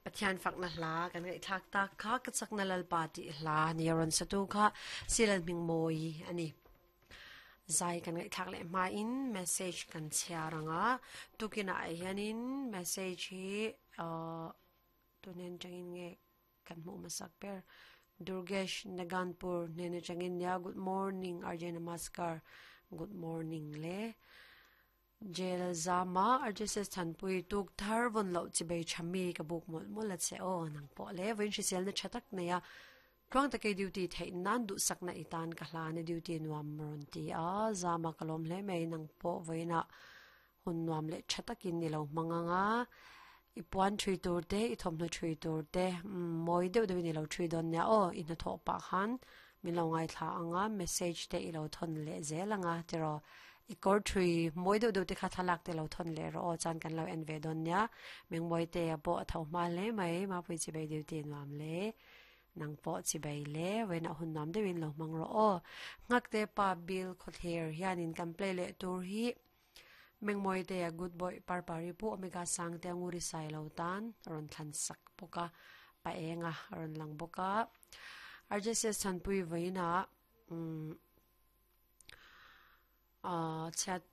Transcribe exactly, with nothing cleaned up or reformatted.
Pathian fakna hla kan ngai thak ta kha ka chakna lalpa ti hla ni ron satu kha silan ming moi ani zai kan ngai thak le ma in message kan chiaranga tukina hianin message hi uh tunen changin nge kan mu masak per Durgesh Naganpur nene changin ya good morning R J namaskar good morning le jail zama R J S thanpui tuk thar von lo chi bei chami ka buk mol mol la che o nang po le win shi sel na chatak na ya tuang take duty thei nan du sakna itan ka hla ne duty nuam ron ti a zama kalom hle mai nang po voina hun nuam le chatakin ni lo manganga ipuan thui tur te i thomhnaw thui tur te moi deuh deuh in ilo thui dawn nia aw i hnathawh pah khan min lo ngaithla anga message te ilo thawn leh zel anga tiraw i kawr thui mawi deuh deuh te kha thlalak te lo thawn leh rawh aw chuan kan lo en ve dawn nia mengmawi te a pawh a tho hma hle mai mapui chi bai duty nuam le nang pawh chi bai le vawiinah hun nuam deuhin lo hmang rawh aw nghak te pa bill khawthler hianin kan play leh tur hi mengmawi te a good boy parpari pu omega sang te anguri sai lo tan rawn thlan sak bawk a pa enga rawn lang bawk a R J S thanpui vawiinah umm ah chhiat